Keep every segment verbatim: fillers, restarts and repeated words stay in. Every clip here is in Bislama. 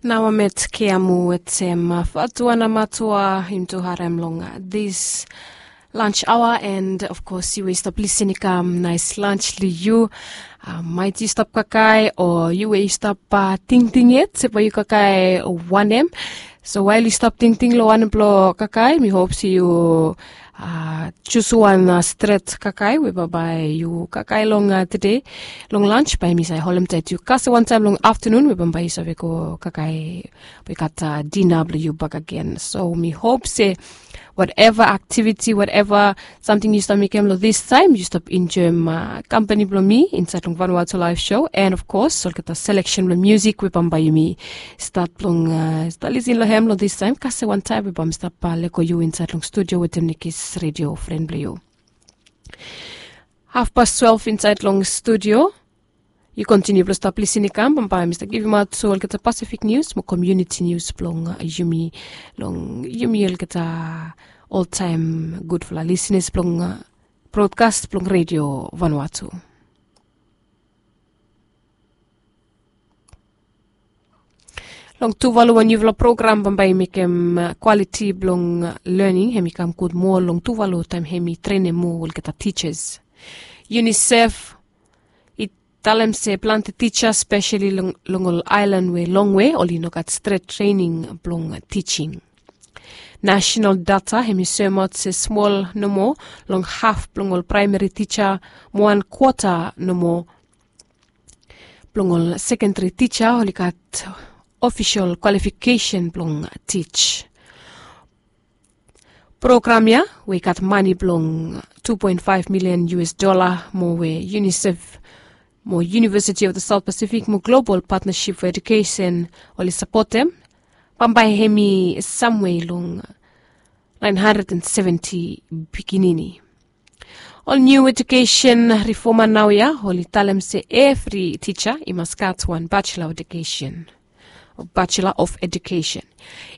Naoa met keamu wetem fatua na matua im tu harem long this lunch hour, and of course yu we stop listening kam nice lunch li yu. Mait yu stop kakai o yu we yu stop tingting yet sepa yu kakai wanem. So wael yu stop tingting lo wanem blo kakai, mi hop se yu jus wan stret kakai we bambae yu kakai long tede long lunch, bae mi save holem taet yu kase wantaem long aftanun we bambae yu save go kakai we gat dina blo yu bakagen. So mi hop se wateva aktiviti, wateva samting yu stap mekem lo distaem yu stap enjoem kampani blo mi insaed long Vanuatu Laef Sho, and of kos olgeta seleksen blo musik we bambae yumi stat blong stat lisin lo hem lo distaem kase wantaem we bambae stap leko yu insaed long studio wetem nekis redio fren blo yu. Hafpas twelve insaed long studio. Yu kontiniu blo stap lisin i kam bambae mi stap givimaot olgeta Pasifik nius mo komuniti nius blong yumi long yumi olgeta oltaem gudfala lisinas blong brodkas blong redio Vanuatu. Long Tuvalu wan niufala program bambae i mekem kwaliti blong lening hem i kam gud moa long Tuvalu taem hem i trenem moa olgeta tijas. Unicef i talem se plante tija spesali long ol aelan we longwe oli no gat stret trening blong tijing. Nasenal data hem i soemaot se smol nomo long haf blong ol praemeri tija mo wan kwota nomo blong ol sekendari tija oli gat ofisol kwalifikesen blong tij. Program ya we i gat mane blong tu poen faef milian U S dola mo we Unicef mo University of the South Pacific mo Global Partnership for Education oli sapotem bambae hem i samwe long naen handred and seventi pikinini. Ol niu ejukesen rifoma naoia oli talem se evri tija i mas gat wan bachelor of education. Bachelor of Education.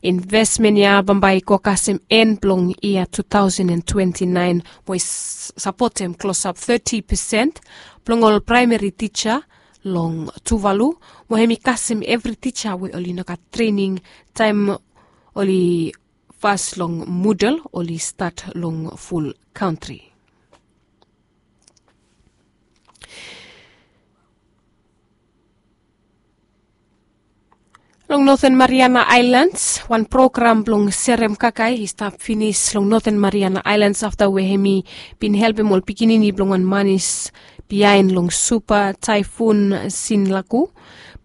Invesmen ya bambae i go kasem en blong yia tu taosen and twenti naen we i sapotem klosap teti pesen blong ol praemeri tija long Tuvalu, mo hem i kasem evri tija we oli no gat trening taem oli fas long mudel oli stat long ful kantri. Long Noten Mariana Aelans wan program blong serem kakae i stap finis long Noten Mariana Aelans afta we hem i bin helpem ol pikinini blong wan manis biaen long supa taefun Sinlaku.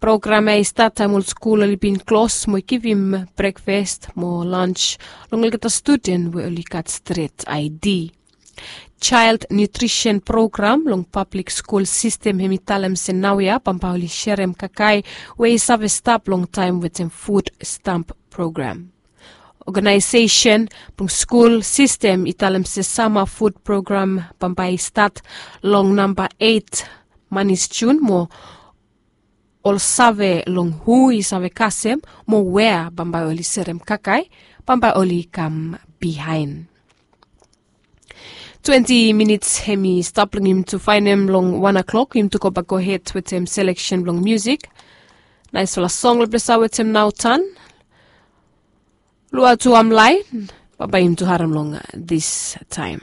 Program ya i stat taem ol skul oli bin klos mo i givim brekfas mo lans long olgeta studen we oli gat stret I D. Child nutrisen program long pablik skul sistem hem i talem se naoia bambae oli serem kakae we i save stap long taem wetem fud stamp program. Oganaesesen blong skul sistem i talem se sama fud program bambae i stat long namba eit manis Jun mo ol save long hu i save kasem mo wea bambae oli serem kakae bambae oli kam biaen. Twenti minits hem i stap long yumi tu faenem long wan o'klok yumi tu gobak gohed wetem seleksen blong musik. Naesfala song long ples ya wetem naotan. Lua tu amlae. Bambae yumi tu harem long distaem.